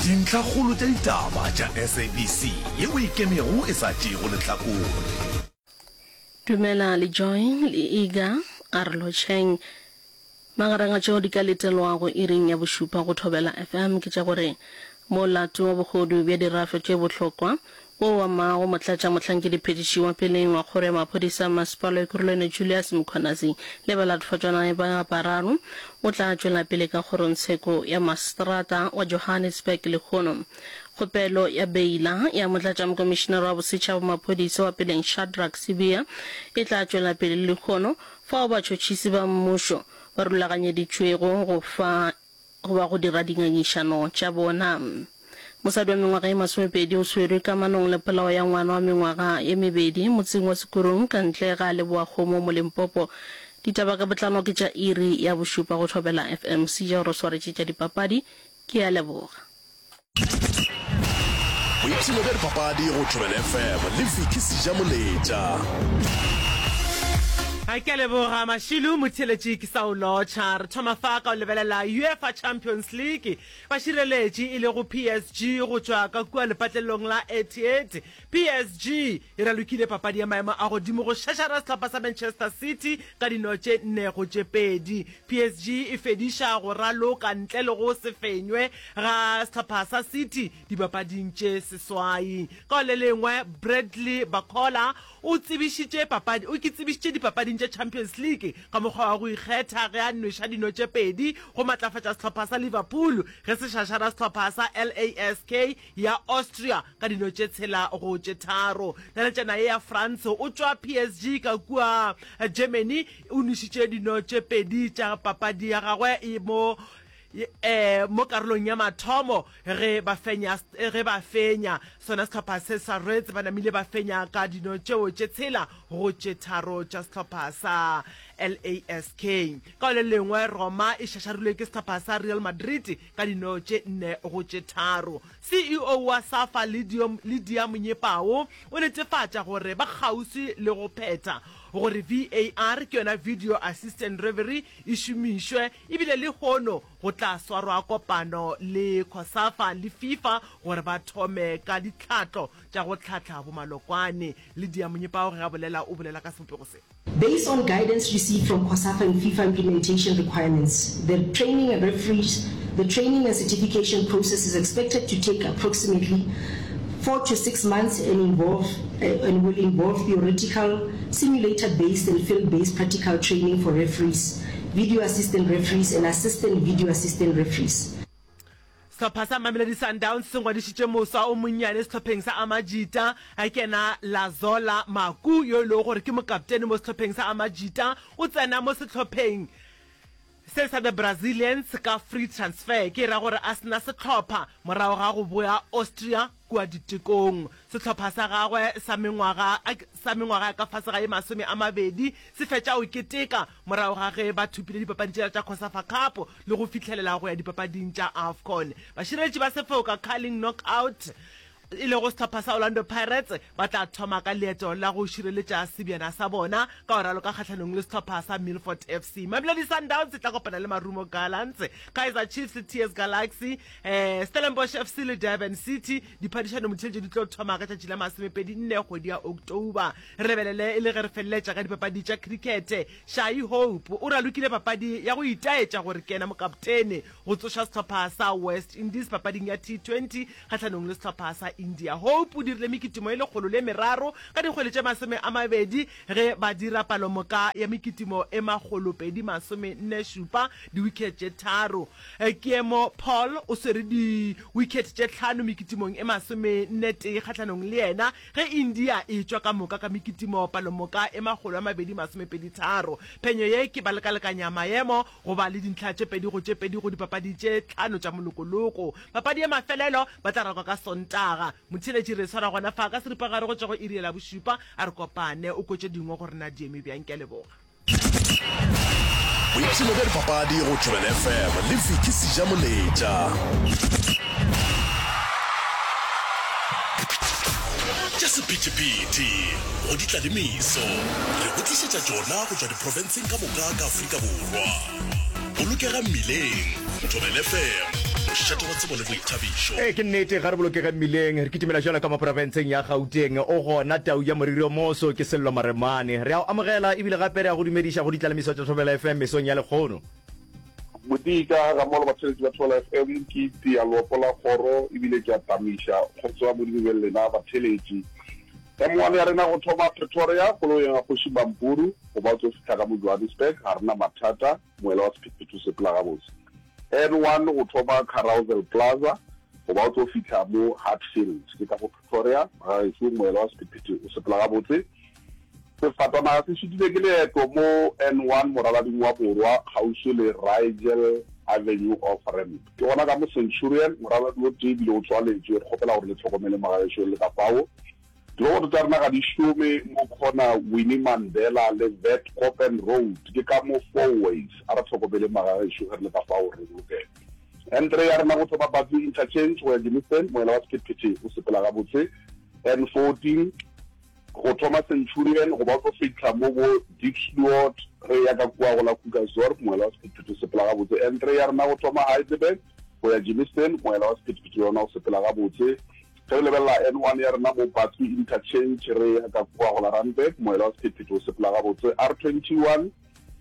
Dintlhakgolo tša ditaba tša SABC yeo e ikemego e sa tšeego lehlakore. Dumela le Joy le Iga a re lotšheng. Magareng a tšeo di ka letelwago iring ya bošupa go Thobela FM ke tša gore molato wa bohodu bja dirafe tše bohlokwa wo o amago motlatšamohlankediphethiši wa peleng wa kgoro ya maphodisa a masepala wa Ekurhuleni Julius Mkhwanazi le balatfatšwanae ba bararo o tla tšwela pele ka kgorongtsheko ya maseterata wa Johannesburg lehono. Kgopelo ya beila ya motlatšamokomišinara wa bosetšhaba wa maphodisa wa peleng Shadrack Sibiya e tla tšwela pele lehono fao batšhotšhisi ba mmušo ba rulaganyeditšwego go fa goba go dira dingangišano tša bona. Mosadi wa mengwaga ye masomepedi o swerwe kamanong le polao ya ngwana wa mengwaga ye mebedi motseng wa Sekurung ka ntle ga Leboakgomo mo Limpopo. Ditaba ka botlalo ke tša iri ya bošupa go Thobela FM. Seja o re swaretše tša dipapadi. Ke a leboga. Boipshino bja dipapadi go Thobela FM le Vicky Sejamoletša. Ke a leboga Mashilu motheeletši ke sa o lotšha. Re thoma fa ka go lebelela UEFA Champions League. Bašireletši e lego PSG go tšwa ka kua lepatlelong la Etihad. PSG e ralokile papadi ya maemo a godimo go šašara sehlopha sa Manchester City ka dino tše nne go tše pedi. PSG e fediša go raloka ntle le go se fenywe ga sehlopha sa City dipapading tše seswai. Ka go le lengwe, Bradley Barcola o tsebišitše papadi o ke tsebišitše dipapading tša Champions League ka mokgwa wa go ikgetha ge a nweša dino tše pedi go matlafatša sehlopha sa Liverpool ge se šašara sehlopha sa LASK ya Austria ka dino tše tshela go tše tharo. Naletšana ye ya France o tšwa PSG ka kua Germany o nwešitše dino tše pedi tša papadi ya gagwe mo mo karolong ya mathomo ge ba fenya ge ba fenya sona sehlopha se sa Reds ba namile ba fenya ka dino tšeo tše tshela go tše tharo tša sehlopha sa LASK. Ka le lengwe Roma e šašarilwe ke sehlopha sa Real Madrid ka dino tše nne go tše tharo. CEO wa SAFA Lydia Monyepao o netefatša gore ba kgauswi le go phetha gore VAR ke yona Video Assistant Referee e šomišwe ebile lehono go tla swarwa kopano le COSAFA le FIFA gore ba thome ka ditlhahlo tša go hlahla bomalokwane. Lydia Monyepao ge a bolela o bolela ka sebopego se. Based on guidance received from COSAFA and FIFA implementation requirements, the training and referees, the training and certification process is expected to take approximately 4 to 6 months and involve and will involve theoretical, simulator-based and field-based practical training for referees, video assistant referees and assistant video assistant referees. Sehlopha sa Mamelodi Sundowns se ngwadišitše moswa o monnyane sehlopheng sa Amajita, ke yena Lazola Maku yo e lego gore ke mokaptene mo sehlopheng sa Amajita. O tsena mo sehlopheng se sa The Brazilians ka free transfer, ke e ra gore a se na sehlopha morago ga go boya Austria kua ditekong. Sehlopha sa gagwe sa mengwaga sa mengwaga ya ka fase ga ye 20 se fetša go keteka morago ga ge ba thopile dipapadi tšela tša Cosafa Cup le go fihlelela go ya dipapading tša Afcon. Bašireletši ba sefoka Carling Knockout e lego sehlopha sa Orlando Pirates ba tla thoma ka leeto la go šireletša sebjana sa bona ka go raloka kgahlanong le sehlopha sa Milford FC. Mamelodi Sundowns e tla kopana le Marumo Gallants, Kaizer Chiefs le TS Galaxy, Stellenbosch FC le Durban City. Diphadišano motheletšo di tlo thoma ka tšatši la masomepedi nne kgwedi ya October. Re lebelele e le ge re feleletša ka dipapadi tša cricket. Shai Hope o ralokile papadi ya go itaetša gore ke yena mokaptene go tsoša sehlopha sa West Indies papading ya T20 kgahlanong le sehlopha sa India. Hope o dirile mekitimo e lekgolo le meraro ka dikgwele tše 20 ge ba dira palomoka ya mekitimo e makgolopedi masomenne šupa, di-wicket tše tharo. Keemo Paul o swere di-wicket tše tlhano mekitimong e masomenne-tee kgahlanong le yena ge India e tšwa ka moka ka mekitimo palomoka e 222. Phenyo ye ke ba lekalekanya maemo go ba le dintlha tše pedi go tše pedi go dipapadi tše tlhano tša molokoloko. Papadi ya mafelelo ba tla rakwa ka Sontaga. Motheeletši re e swara gona fa ka seripagare go tšwa go iri ya labošupa. A re kopane o kwe tše dingwe gore na di eme bjang. Ke a leboga. Boipshino bja dipapadi go Thobela FM le Vicky Sejamoletša. Tša sephethephethe go di tla le meso, re go tlišetša tšona go tšwa diprofenseng ka moka ka Afrika Borwa. Bolokega mmileng, Thobela FM. Mošate wa tsebo le boithabišo. Ee, ke nnete, ga re bolokege mmileng. Re kitimela bjalo ka mo profenseng ya Gauteng. O gona tau ya moriri o moso, ke Sello Maremane. Re a o amogela ebile gape re a go dumediša go ditlalemiso tša Thobela FM mesong ya lekgono. Modika, gammogo le batheeletši ba Thobela FM, ke itia leopo la kgoro ebile ke a tamiša. Kgotso ya Modimo e be le lena batheeletši. M1 ya rena go thoma Pretoria, koloyeng ya Kgoši Mampuru, go ba o tlo fihla ka mo Johannesburg, ga re na mathata. Moela wa sephethephethe o sepela gabotse. N1 go thoma Carousel Plaza go ba o tlo fihla mo Hatfield, ke ka go Pretoria. Magagešo, moela wa sephethephethe o sepela gabotse. Sefatanaga se šitile ke leeto mo N1 moralading wa borwa kgauswi le Rigel Avenue off ramp. Ke gona ka mo Centurion, moraladi o tee ebile o tswaletšwe. Re kgopela gore le hlokomele magagešo le ka fao. Diroboto tša rena ga di šome mo corner Winnie Mandela le Witkoppen Road, ke ka mo Fourways. A re hlokomeleng magagešo ge re le ka fao re bolokege. N3 ya rena go thoma Batsi Interchange go ya Germiston, moela wa sephethephethe o sepela gabotse. N14 go thoma Centurion go ba o tlo fihla mo bo Diepsloot re eya ka kua go la Krugersdorp, moela wa sephethephethe o sepela gabotse. N3 ya rena go thoma Heidelberg go ya Germiston, moela wa sephethephethe le yona o sepela gabotse. Ge re lebelela N1 ya rena mo Bathu Interchange re ya ka kua go la Randburg, moela wa sephethephethe o sepela gabotse. R21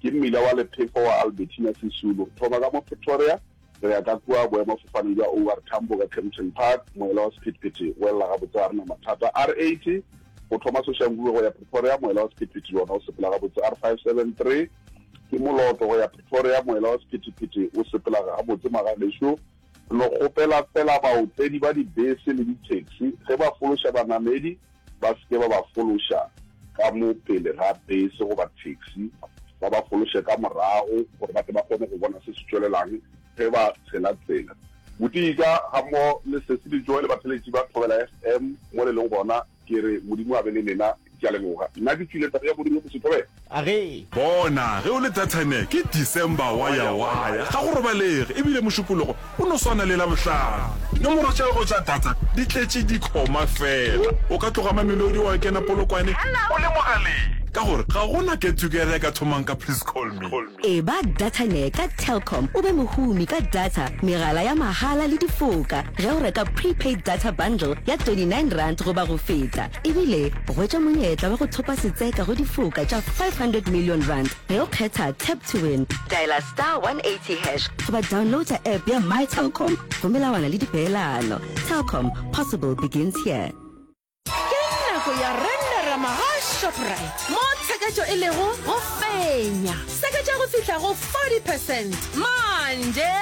ke mmila wa lephefo wa Albertina Sisulu. Re thoma ka mo Pretoria re ya ka kua boemafofaneng bja OR Tambo ka Kempton Park, moela wa sephethephethe o elela gabotse ga re na mathata. R80 go thoma Soshanguve go ya Pretoria, moela wa sephethephethe le wona o sepela gabotse. R573 ke Moloto go ya Pretoria, moela wa sephethephethe o sepela gabotse magagešo. Re no kgopela feela baotledi ba dibese le di-taxi ge ba fološa banamedi ba se ke ba ba fološa ka mo pele ga bese goba taxi, ba ba fološe ka morago gore ba tle ba kgone go bona se se tšwelelang ge ba tshela tsela. Botika gammogo le Sesi le Joy le batheletši ba Thobela FM mo le leng gona. Ke re Modimo a be le lena. Ke a leboga. Nna ke tšwile taba ya Modimo go se thobela. A ge. Bona, ge o le Dathane, ke December waya-waya, ga go robalege, ebile Mošupologo o no swana le Labohlano. Dinomoro tša gago tša data di tletše dikhoma fela. O ka tloga Mamelodi wa kena Polokwane o le mogaleng, ka gore ga go na get-together e ka thomang ka please call me. Eba Datane ka Telkom o be mohumi ka data, megala ya mahala le difoka ge o reka prepaid data bundle ya R29 goba go feta. Ebile hwetša monyetla wa go thopa setseka go difoka tša R500 million ge o kgetha Tap to Win. Dialer star 180 hash goba downloada app ya My Telkom go melawana le dipeelano. Telkom, possible begins here. Ke nako ya Renderama ga Shoprite, mo tsheketšo e lego go fenya. Seketša go fihla go 40 percent manje.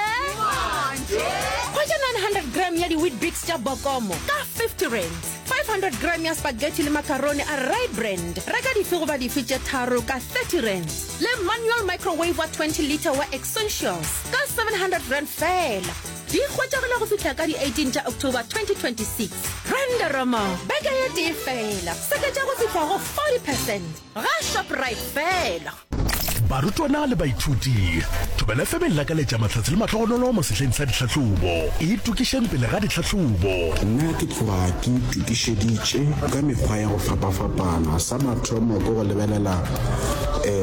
Hwetša 900 gram ya di-Weet-Bix tša Bokomo ka 50 rands, 500 gram ya spaghetti le macaroni a Rye Brand, reka dife goba dife tše tharo ka 30 rands, le manual microwave wa 20 litre wa Essentials ka 700 rand feela. Di hwetšagala go fihla ka di 18 tša October 2026. Renderoma beke ye tee fela, seketša go fihla go 40 percent ga Shoprite fela. Barutwana le baithuti, Thobela FM e lakaletša mahlatse le mahlogonolo mo sehleng sa ditlhahlobo. Itokišeng pele ga ditlhahlobo. Nna ke tloga ke itokišeditše ka mekgwa ya go fapafapana. Sa mathomo ke go lebelela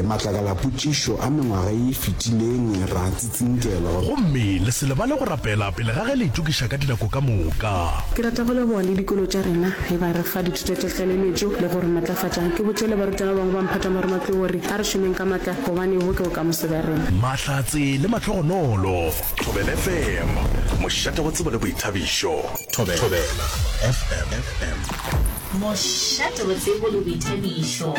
matlakalapotšišo a mengwaga ye e fetileng ra Tsinkelwa. Gomme le se lebale go rapela pele ga ge le itokiša ka dinako ka moka. Ke rata go leboga le dikolo tša rena ge ba re fa dithuto tša tlaleletšo le go re matlafatša. Ke botše le barutwana ba bangwe ba mphatang ba Ramatlou gore a re šomeng ka matla gobane bo ke bokamoso bja rena. Mahlatse le mahlogonolo. Thobela FM, mošate wa tsebo le boithabišo. Thobela FM. Mošate wa tsebo le boithabišo.